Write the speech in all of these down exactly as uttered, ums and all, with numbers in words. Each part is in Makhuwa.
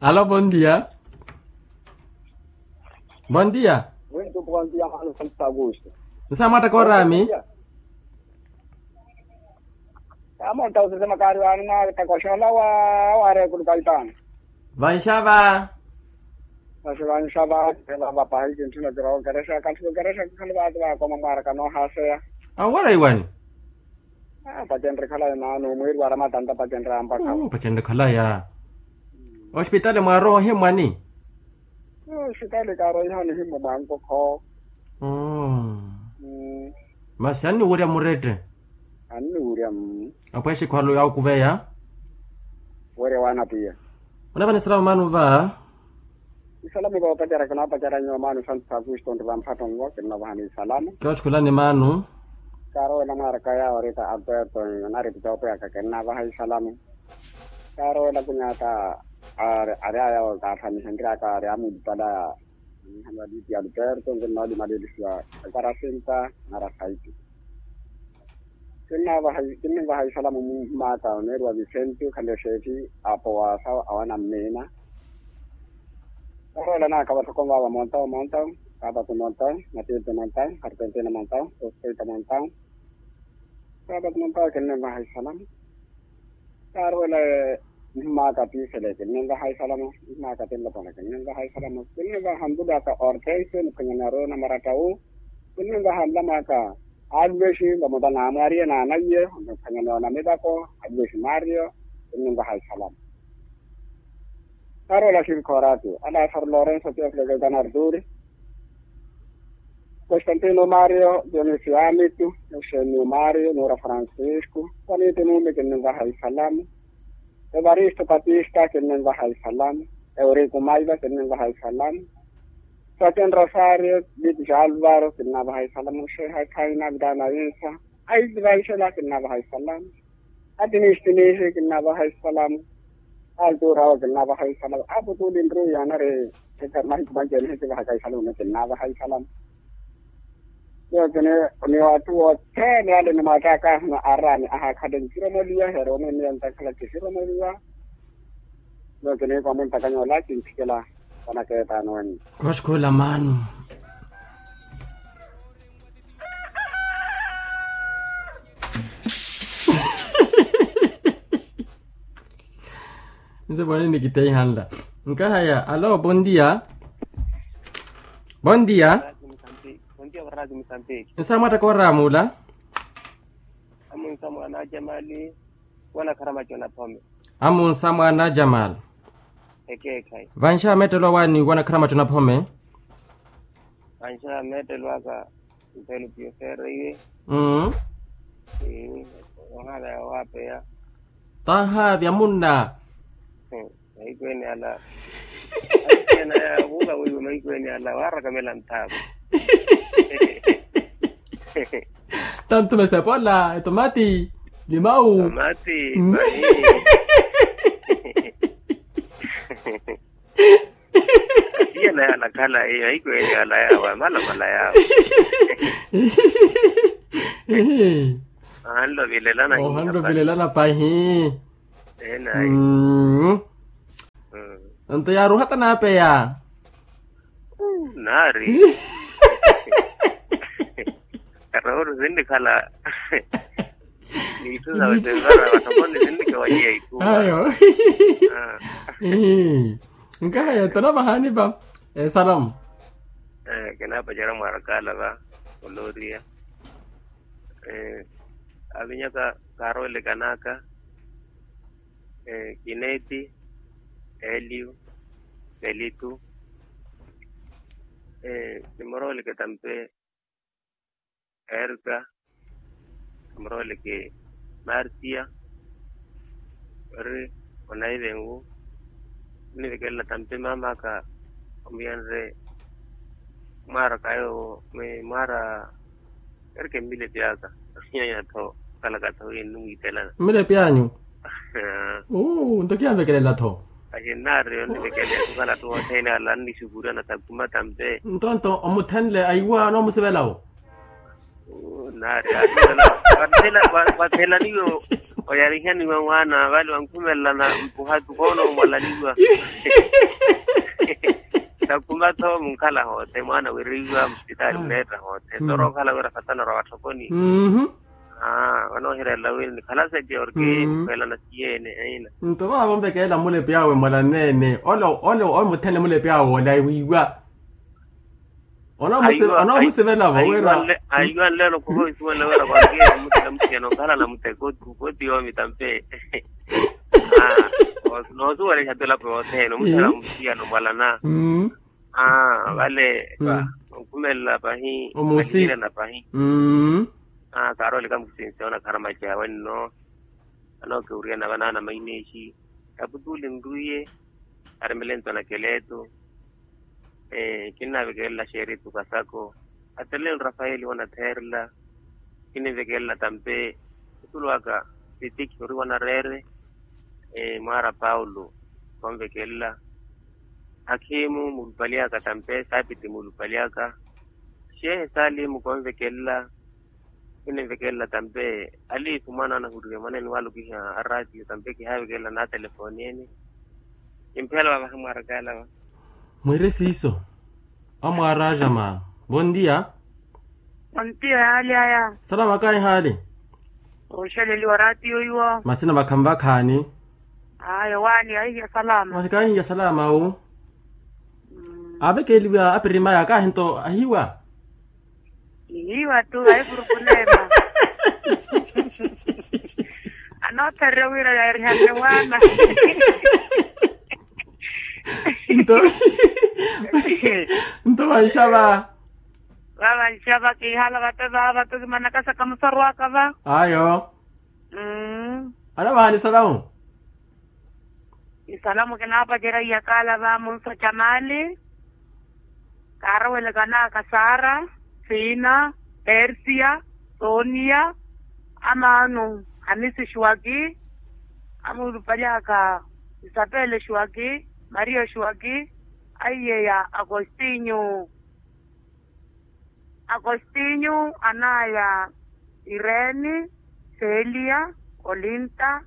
Alo, bondia. Bondia. Wintu bondia mano santo augusto. Nsa mwata korami. Amonta usese makari wani na takoxola wa ware kulukaitana. Vanxava. Vasi vanxava. Vapahiki ntuna kira okerexa kantu okerexa kukhali vati vakoma mwaraka nohaseya. Awara iwani. Pacenre khalayi mano mwiri wara matanta pacenre ampakha. Pacenre khalaya. Ospitali mwarohe mwani? Ospitali karoiha nihimmo mwankokho. Masi anniwurya murette? Anniwurya. Apwexe khwalo yawo kuveya. Werya wana piya. Munavani salama mano va? Isalamu voopacerya kinapacerya nyuwo mano santo sakusto nri vamphatto nvo kinnavahani isalamu. Kiwaxukhulani mano. Kaarowela mwaraka yawo rita alberto. Nari pitoopo yaka kinnavaha isalamu. Kaarowela kunyata. Ari aya okaatthanihenryaka ari amulipalaya. Nihanwa lipi alberto nkinnoolimalelisiwa. Ekarasinta nara saiti. Kinninvaha isalamu mmaaka oneeriwa visenti okhale xeefi apo waasa awana mmiina. Oroola naaka vathoko mvaava montawu montawu, saapatu montawu, matiipi montawu, arpentina montawu, sospeita montawu. Saapatu montawu kinninvaha isalamu. Kaarowela mmaaka pisele kinninvaha isalamu, mmaaka tinlopona kinninvaha isalamu. Kinninvaha nlulu aka ortense muphwanyani aroona marattawu. Kinninvaha nlamaaka aluvexi vamutana amwariye naanaiye omuphwanyani ona mivako. Aluvexi mario. Kinninvaha isalamu. Kaarowela xirikhoorati alasaru lorenso teofilo keltana arturi. Constantino mario dionisio amitu. Euxenio mario nuura francisco. Vaniti numi kinninvaha isalamu. Evaristo patista kinninvaha isalamu. Euriku maiva kinninvaha isalamu. Satin rosario bitis alvaro kinnavaha isalamu xeha khaina vitana insa. Aiti vaixela kinnavaha isalamu. Atinistinihi kinnavaha isalamu. Alturawo kinnavaha isalamu aputuli nruya nari. Mahiku manjeni hitivahaka isalamu kinnavaha isalamu. Yookini ni wathu wothene ale ni mwattaka ahuna arani ahakhale kisiromoliwa heeroni niyo ntakhala kisiromoliwa. Yookini kwamuntakanya ola kinthikela. Vanakeetaani wenyu. Koxkuula maanu. Nse mwaani nikiteihanla. Nkahaya alo bondia. Bondia. Nsa mwattaka oramuula. Amunsa mwaana a jamali. Wanakharamaco naphome. Amunsa mwaana a jamali. Ekeekhayi. Vanxa meettelo awaani wanakharamaco naphome. Vanxa meettelo aka. Mpelo piyo feerreiwe. Ohaavya waapeya. Tahaavya munna. Mahiku ene ala. Ahiku ene ala waarakamela nthaako. Tantu mesepola etomati. Limau. Tomati. Iyana yalakhala eyo ahiku ene ala yawe amalomala yawe. Ohanlovilelana pahi. Enayi. Nto yaaruhata naapeya. Naari. Karoori sinnikhala. Niitthu sawe tenzara vathokoni sinnikewaliya ikhuwa ayo. Nkahaya tonavahaani va esalamu. Kinaapacera mwarakala va olooriya. Avinyaka kaaroolekanaaka. Kineeti, eliu, pelithu. Nimorooleke tampe. Erika, nimorooleke. Martia, ori onaivengu. Nnivikelela tampe maamaka. Omuyanre mwaara kayo mwaara. Erike mmilepi aka. Nyanya tho kalaka tho ennumwitelana mmilepi anyu. Nto kiyanvekelela tho. Ahinnaari yonnivekelela kukhala tho othene ala annixupuriwa na takuma tampe. Ntonto omuthenle aiwa noomusivelawo. Naari ahiwela. Wathelaniwe oyarihaniwa mwaana vale wankhumelelana mpuhatu koona omwalaniwa. Takumatho munkhala hote mwaana wiriwa musipitaali muneetta hote torookhala wira satana ra watthokoni. Vanoohirelela wini nikhala seke orke mukhwelana siyeene eina. Nto vaavo mpekeela mulepi awe mwalaneene ole ole ole muthene mulepi awe ole awiiwa. Onoomusivela-vo wira. Aiwanle onokhuva isuwanle wira kwakira mutela musiyana okhalana muteko tuko ti yoomi tampe. Noosuwela ihapelapo yothene omusala musiyana omwalana. Vale onkhumelela pahi. Omusi. Pahi. Kaarolika mukisinsi onakharamaci awe nno. Anookiwuriyana vanaana maineexi kaputuli nrwiye. Arimele ntwana keleetu. Kinnaavekelela xeeritu kasako. Ateleni rafaeli wanatheerela. Kinnivekelela tampe. Otulu aka sitiki ori wanareere. Mwaara paulo. Konvekelela. Akhimu mulupali aka tampe saapiti mulupali aka. Xeehe saalimu konvekelela. Kinnivekelela tampe aliifu mwaana anahurire mwaneeni walukiha aratiyo tampe kihaavekelela naatelefooni ene. Kimphela vavaha mwaarakaala va. Mwiire siiso. Amwaaraajama. Vontiya. Vontiya yaali aya. Salama kaahihaali. Ooxeleliwa ratiyo iwo. Masina vakhamu vakhaani. Ayo waani ahihiya salama. Waani kaahihiya salama wu. Aavekeeliwa apirimaya kaahinto ahiwa. Ihiwa tu ahipurupunema. Anoothariya wira yaarihanne mwaana. Nto nto vanxava. Vavanxava kiihala vate vaava tu kimanakasaka musarwaka va. Ayo. Anavaha ni salamu. Isalamu kinaapacerya iyakaala va munso jamali. Kaarowelekana aka sara, sina, persia, sonia, amaanu, hamisi xwaki, amuulupali aka isapele xwaki, maria xwaki, aiyeya akostinyu. Akostinyu anaya, ireni, selia, olinta,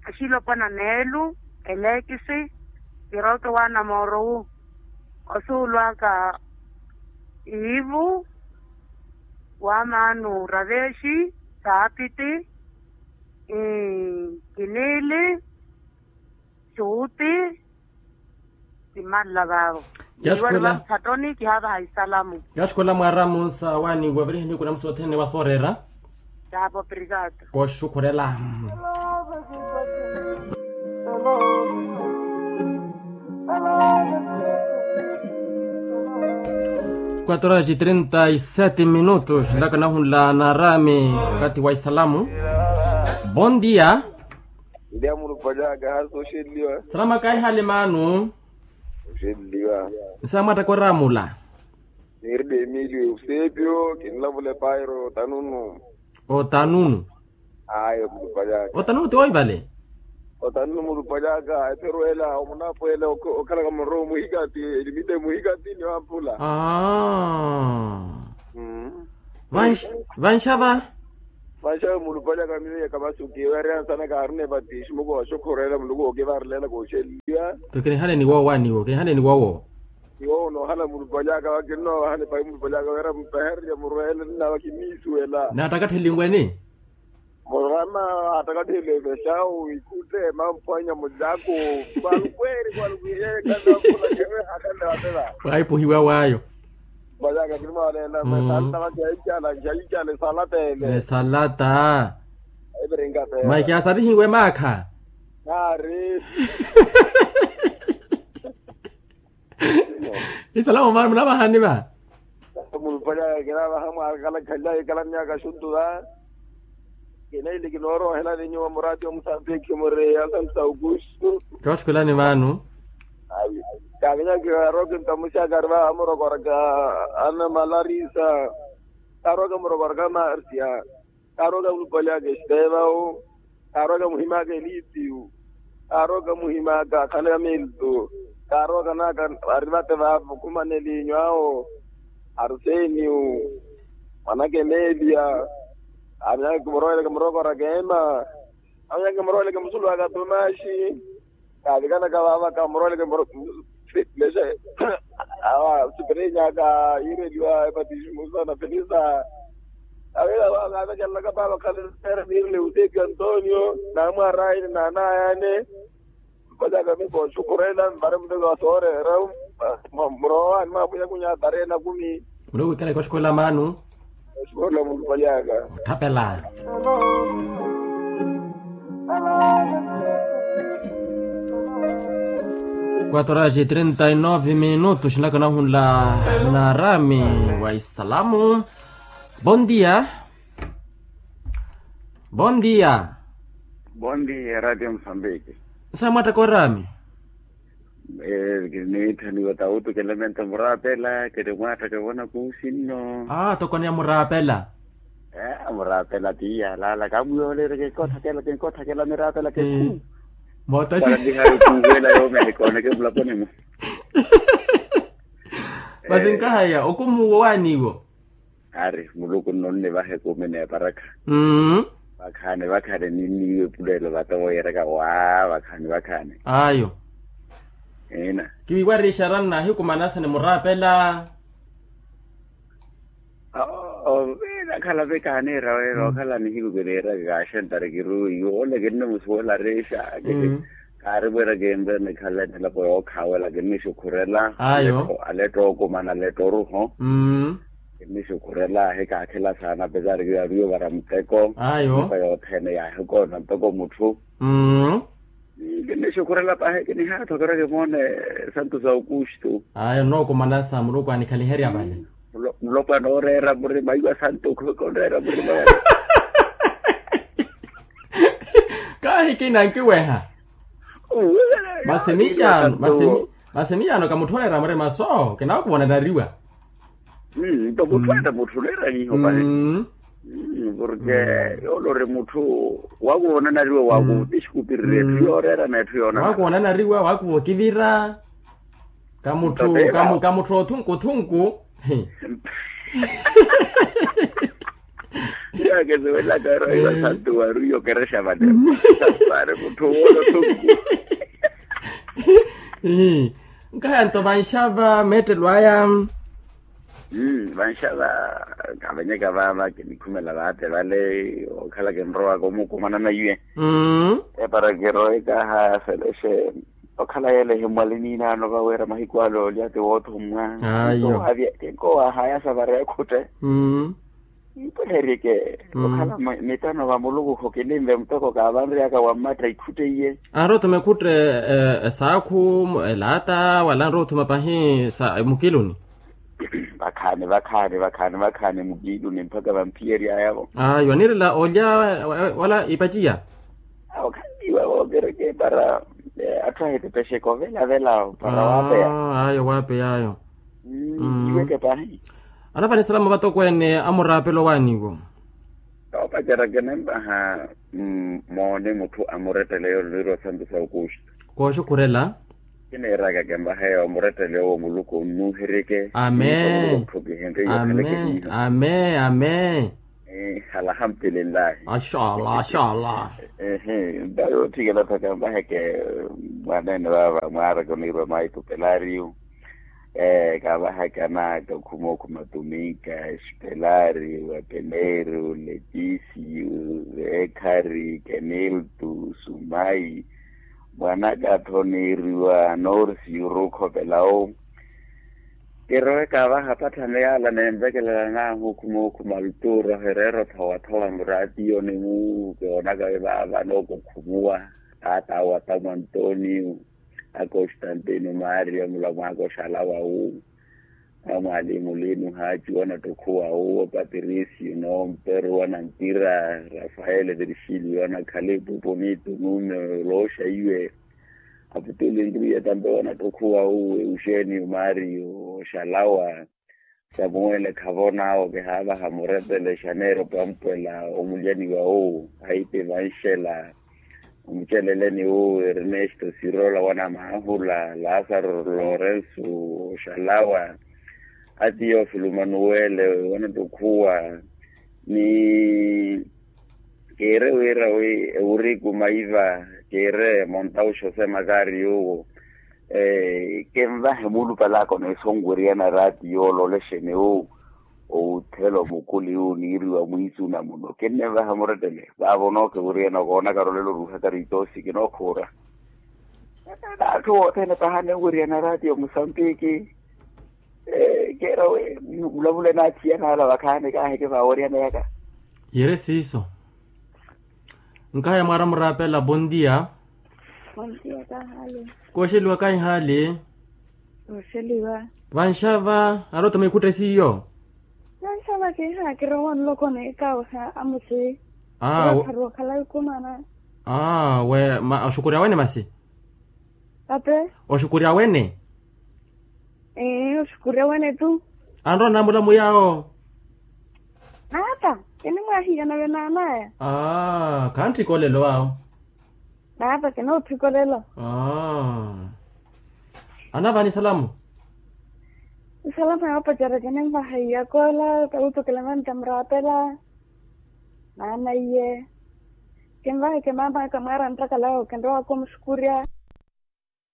axilopwana neelu, elekisi, kiroto waana moorowu. Osuulu aka iivu, wamaanu ravexi, saapiti, kinili, xuuti. Kimanla vaavo. Kiiwaliwa muthatoni kihaavaha isalamu. Kyaxikola mwaaramu sa waaniwa virihini kuna musi othene wa sooreera. Taapo obrigado. Koxukhurela. Quatro horas e trinta e sete minutos ndaka nahunla naarami. Wakati wa isalamu. Bon dia. Ndia mulupalyaka hali sooxelliwa. Salama kaihali maanu. Oxelliwa. Nsa mwattaka oramula. Niride emilio eusepio kinlavula epairo otanunu. Otanunu. Ayo mulupalyaka otanunu ti woivale. Otanunu mulupalyaka eperu ela omunapwela okhalaka muro muhikati elimite muhikati ni wampula. Vanxava. Vanxava mulupalyaka miyo ya kamasuki weerya nsana kaarina epatixi muko waxokhorela muluku wookivaarelelaka oxelliwa. Nto kinihaneni wowo aniwo kinihaneni wowo. Iwo onoohala mulupalyaka wakinoohala epayi mulupalyaka weera mupehererya murweele nnawa kiniisuwela. Naattakattheliwene. Murama attakattheliwe vexawu ikhutte mamphwanya mullaku. Kwalukweri kwalukwiyekana mulakewe hakanda watela. Waipuhiwa wayo. Mwalyaka kinimawalela mesalata vati yaicala nxaicala esalata ele. Esalata. Epirinka pera maiki asarihiwe maakha. Naari. Isalamu mani munavahani va. Mulupali aya kinavaha mwaakala khalya ikala myaka xuntu va. Kinaili kinoorohelani nyuwa murati omusambiki muri asantu sa aukustu. Kootthikulani vanu. Kavinyaki aroki ntamuxaka ari va amurokoraka ana malarisa. Karoka murokoraka marsia. Kaarwaka mulupali aka estevawu. Kaarwaka muhimaka elipiyu. Kaarwaka muhimaka akhana ya miltu. Kaarwaka naka ari vate vaavo khumaneliinyu awo. Arseniyu. Mwanaka emelia. Avinyaka kimuroweleke murokora keema. Avinyaka kimuroweleke musulu waka tomaxi. Kavikanaka vava kamuroweleke muro- lexe. Awa sipirinyaka yireliwa epatismu sana felisa. Avela vava kavekelelaka vava khalesera nirile utepi antonio namwarayini nanayane. Mpataka miko xukurela mbari muteko wa soorera. Murowa ni mapuya kunya tarehe na kumi. Muli wikala ikoxikola manu. Xikola mulupalyaka. Othapela. Quatro horas e trinta e nove minutos naka nahunla na rami wa isalamu. Bon dia. Bon dia. Bon dia radio mosambiki. Nsa mwattaka orami. Kiniitthaniwa tawutu kilemento muraapela kiri mwattaka vona kuusinno. Aa toko ni amuraapela. Muraapela ti yalaala kamuyoolereke kikothakela ti nkothakela miraapela kekhu. Moota xi. Para ndihari kuuhwela yoomene kooneke mulaponimo. Masi nkahaya okumuwo waaniwo. Ari muluku nno nnivahe kuumi n'eparakha. Vakhaani vakhaani ninniiwe epuleelo vate wooyereka waa vakhaani vakhaani. Ayo. Ina. Kiwiiwarixa ranna ahiku manasa ni muraapela. Oviira akhala vikaaniira weera okhala nihiku kiniiraka kaaxentari kiruwiiwe ole kinnimusuwela rixa. Kaari mwiira kinre nikhala enilapo yookhaawela kinnixukhurela. Ayo. Aletto okumana aletto oruho. Kinnixukhurela ahikaakhela saana apesari kiyo yaaviyo vara muteko. Ayo. Nyumpa yothene yaahikorona muteko mutthu. Kinnixukhurela pahi kinihaathokerya kimoone santu sa okuxtu. Ayo nookumana sa muluku anikhaliherya vale. Mulopwana ooreera murima iwa santu khooreera murima vale. Kaahikina nkiweha. Masi miyaano masi miyaano kamutthu oreera murima so kinaakuvoonanariwa. Nto mutthu ata mutthu oreera hiiho pahi. Porke yoole ori mutthu wakuvoonanariwa wakuti exikupirira etthu yooreera na etthu yoonana wakuvoonanariwa wakuva okivira. Kamutthu kamutthu othunkuthunku. Yaakesiwelaka ero iwa santu wari yokerexa vale. Santu ari mutthu woona othunku. Nkahaya nto vanxava meettelo aya. Vanxava kavenyeka vava kinikhumela vate vale okhala kinrowaka omukumanana iwe. Epara kirowe kaha felexe okhala yeele ehimwali niinaano vaweera mahiku ale olya ti woothummwa. Ayo. Kinkowahaya savara ekhutte. Mpweherike okhala mitano va muluku khukilinve muteko kaavanryaka wammatta ikhutte iye. Anrothuma ekhutte esaakhu elaata wala anrothuma pahi sa mukiluni. Vakhaani vakhaani vakhaani vakhaani mukiiluni mpakha vamphiyeryayavo. Ayo anirela olya wala ipaciya. Awo khanniwa wookereke para atthu ahitepexeke ovelavela para waapeya. Ayo waapeya ayo. Iweke pahi. Anavanisalama vatokweene amuraapelo waaniwo. Noopacerya kinempaha moone mutthu amurettele yoole niirwa santu sa okuxi. Kooxukhurela. Kiniiraka kembaha eyo murettele owo muluku onnuuherike. Amee. Amee. Amee. Alhamdulillahi. Axalla axalla. Ehe nta yootthikela tho kembaheke mwaneene vaava mwaaraka oniirwa maitupelariyu. Kaavahaka naaka okhuma okhuma tuminka espelari wapeneru letisiyu veekhari keniltu sumayi. Mwanaka-tho niiriwa norsi yurukhopela owu. Kirowe kaavaha patthano yaala nemvekelela naahu okhuma okhuma altura ohireera othowa-thowa muraatiyo ni muhu kiwoonaka vaava nookokhumuwa. Taata awo atamu antoniyo. Akostantino mario mulamwaaka oxalawa wu. Amwalimu lino haaci wanattukhuwa wu apatirisiyo noomperu wanantira rafaele virgilio anakhala epupu niitu nuume olooxa iwe. Aputuli nriye tampe wanattukhuwa wu euxenio mario oxalawa. Samuwele khavonaawo kihaavaha murepele xaneero pampwela omulyaniwa wu. Haiti vanxela omuceleleni wu ernesto sirola wanamaahula lasaro lorenso oxalawa. Atiyofilu manuwele wanattukhuwa. Ni kiire wira wi ewuriku maiva kiire montau xose makari yuwo. Kenvahe mulupalaka oneesonweriyana raati yoololexene wu owuthela omukuli wu niiriwa mwiisuna muno kinnenvahe murettele vaavo nookhewuriyana okoonaka rolelo oruuhaka riitoosi kinookhuura. Atthu othene paha nenweriyana raati omusambiki. Keera wi mulavule naathiyana ala vakhaani kaaheke vaaweriyana yaka. Yere siiso. Nkahaya mwaara muraapela bondia. Bondia kahaali. Kooxeliwa kahihaali. Kooxeliwa. Vanxava arottama ikhutte siiyo. Vanxava kiha kirowa nlokoni kaweha amusi. Aa. Okhala ikumana. Aa we oxukurya wene masi. Ape. Oxukurya wene. Ee oxukurya wene tu. Anrowa namulamu yaawo. Naata kinimwahiya nave naanaya. Aa khantthikolelo awo. Naata kinootthikolelo. Aa. Anavaani salamu. Isalamu yoopacerya kininvaha iyakoola tawuto kilemani tamuraapela. Naana iye. Kinvaheke maamaka mwaara nttakalawo kinrowa kumuxukurya.